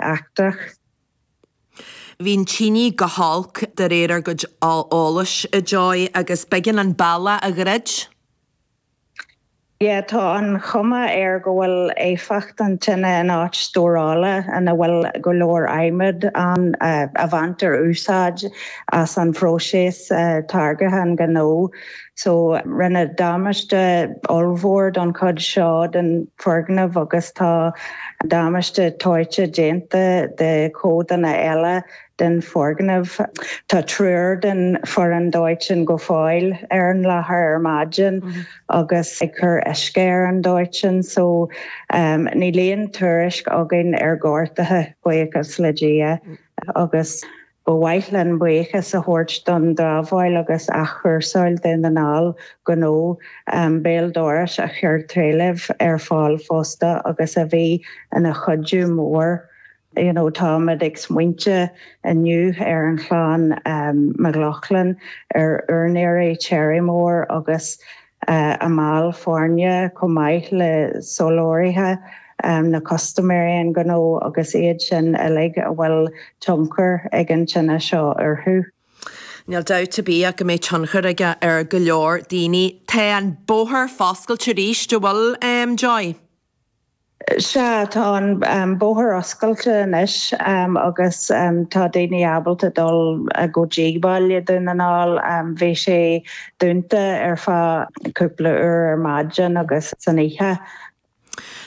Aisteach. Bhí an tine go holc de réir ár gcuid eolais, a Joy, agus b'éigean an bealach a dhruid. Yeah, tá an chuma air go bhfuil éifeacht an tine in áit stórála ina bhfuil go leor adhmad ann a bhaintear úsáid as an phróiseas táirgthe an ghnó. So rinneadh damáiste ollmhór don chuid seo den foirgneamh agus tá damáiste dóite déanta de chodanna eile den foirgneamh. Tá triúr den foireann dóiteáin go fóill ar an láthair ar maidin agus ag cur uisce ar an dóiteán so níl aon tuairisc againn ar ghortuithe, buíochas le Dia, agus ba mhaith linn buíochas a thabhairt don drábháil agus athchúrsáil Dhún na nGall gnó béal dorais a chuir trealamh ar fáil fosta agus a bhí ina chuidiú mór. You know táimid ag smaointe inniu ar an chlann McLaughlin, ar úinéirí Cherrymore agus a mbaill foirne chomh maith le soláthraithe, na custaiméirí an ghnó agus iad sin uilig a bhfuil tionchar ag an tine seo orthu. Níl dabht ar bith ach go mbeidh tionchar aige ar go leor daoine. Tá an bóthar foscailte arís, an bhfuil, Joy? Sea, tá an bóthar oscailte anois agus tá daoine ábalta dul go dtí baile Dhún na nGall. Bhí sé dúnta ar feadh cúpla uair ar maidin agus san oíche.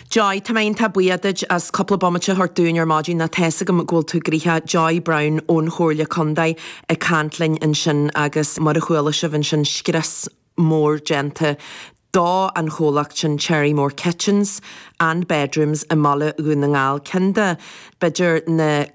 Joy, tá mé iontach buíoch duit as cúpla bomaite a thabhairt dúinn ar maidin nó tá's agam go bhfuil tú gnoitheach. Joy Browne ón Chomhairle Contae ag caint linn ansin agus mar a chuala sibh ansin scrios mór déanta do an chomhlacht sin Cherrymore Kitchens and Bedrooms i mbaile Dhún na nGall, ceann de, b'fhéidir, na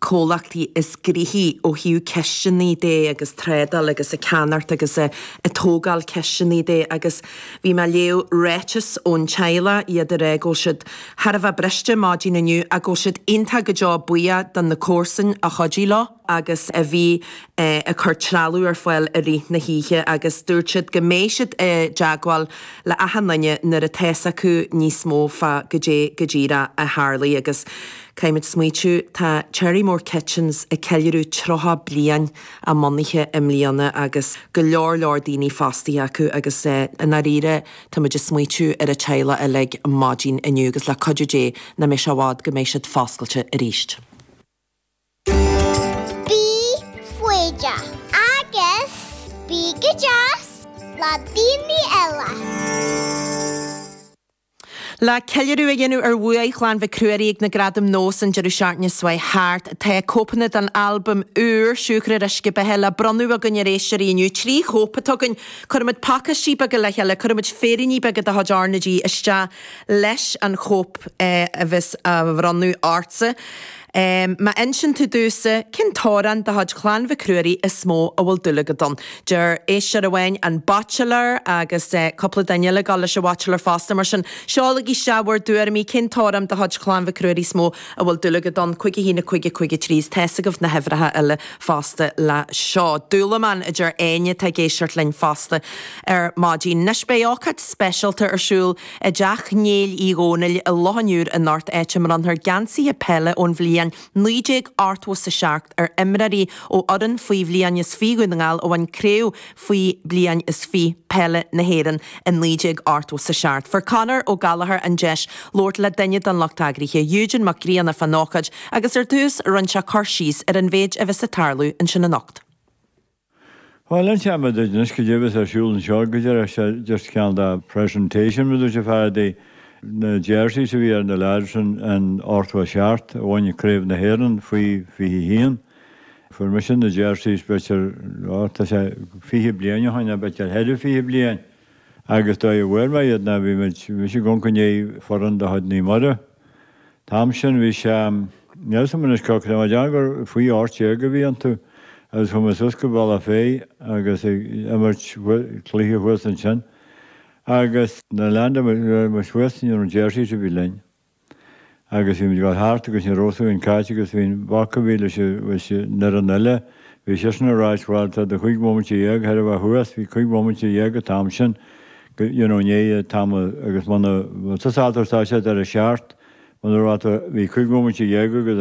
comhlachtaí is gnoithí ó thaobh cisteanaí de agus trádáil agus ag ceannacht agus ag tógáil cisteanaí de agus bhí mé ag léamh ráiteas ón teaghlach, iad ag rá go bhfuil siad thar a bheith briste maidin inniu ach go bhfuil siad iontach go deo buíoch do na comharsain a chuidigh leo. agus a bhí ag cur trealamh ar fáil i rith na hoíche agus dúirt siad go mbeidh siad i dteagmháil le achan duine nuair atá's acu níos mó fá goidé go díreach a tharlaigh agus caithfimid smaoitiú tá Cherrymore Kitchens ag ceiliúradh 30 bliain a mbunaithe i mbliana agus go leor leor daoine fostaithe acu agus i ndáiríre tá muid ag smaoitiú ar an teaghlach uilig maidin inniu agus le cuidiú Dé nach mbeidh sé i bhfad go mbeidh siad foscailte arís. Bí foighdeach agus bí go deas le daoine eile. Le ceiliúradh a dhéanamh ar bhuaidh Chlann Mhic Ruairí ag na Gradaim Nós an deireadh seachtaine seo thart, tá cóipeanna den albam úr, Siúcra ar Uisce Beatha, le bronnadh againn ar éisteoirí inniu. 3 chóip atá againn. Cuirfimid pacáistí beaga le chéile, cuirfimid féiríní beaga de chuid R na G isteach leis an chóip a bheas á bhronnadh ortsa. Má insíonn tú domhsa cén t-amhrán de chuid Chlann Mhic Ruairí is mó a bhfuil dúil agat ann. Deir éisteoir amháin An Baitsiléir agus cúpla duine eile ag dul leis an Bhaitsiléir fosta. Mar sin, seolaigí isteach bhur dtuairimí, cén t-amhrán de chuid Chlann Mhic Ruairí is mó a bhfuil dúil agat ann? 5 1 5 5 3 Is tá's agaibh na huimhreacha eile fosta le seo. Dúlamán, a deir Áine atá ag éisteacht linn fosta ar maidin. Anois beidh ócáid speisialta ar siúl I dteach Néill Uí Dhónaill i Loch an Iúir anocht, áit a mbronnfar geansaithe peile ón bhliain 1987 ar imreoirí ó fhoireann faoi bhliain is 20 Dhún na nGall a bhain craobh faoi bliain is 20 peile na hÉireann i 1987. Fuair Conor Ó Gallchóir an deis labhairt le duine den lucht eagraithe, Eugene Mac Grianna fán ócáid agus ar dtús rinne sé cur síos ar an mhéid a bheas ag tarlú ansin anocht. Bhuel, inseoidh mé duit anois goidé a bheas ar siúl anseo go díreach, sé just cineál de presentation mar a dúirt an fear de na jerseys a bhí ar na lads in 87 a bhain Craobh na hÉireann faoi 21. Fuair mise na jerseys b'fhéidir, ó tá sé 20 bliain ó shin, nó b'fhéidir thar 20 bliain agus dóigh a bhfuair mé iad ná bhí muid, bhí mise ag amharc i ndiaidh foireann de chuid Naomh Muire. An t-am sin bhí sé, níl a fhios agam anois cá raibh mé, déarfainn gur faoi 18 a bhí iontu agus chuaigh mé suas go Bealach Féich agus ag imirt cluiche thuas ansin agus nuair a leaindeáil muid thuas ní raibh jerseys ar bith linn agus bhí muid ag dul thart agus ní raibh a fhios againn cá háit agus bhí an boc a bhí leis an fhoireann eile, bhí seisean ag ráit bhuel tá do chúig bhomaite dhéag chóir a bheith thuas, bhí cúig bhomaite dhéag an t-am sin you know i ndiaidh an t-am agus muna, tá siad ar a seacht. Muna raibh tú, bhí 15 bhomaite agat.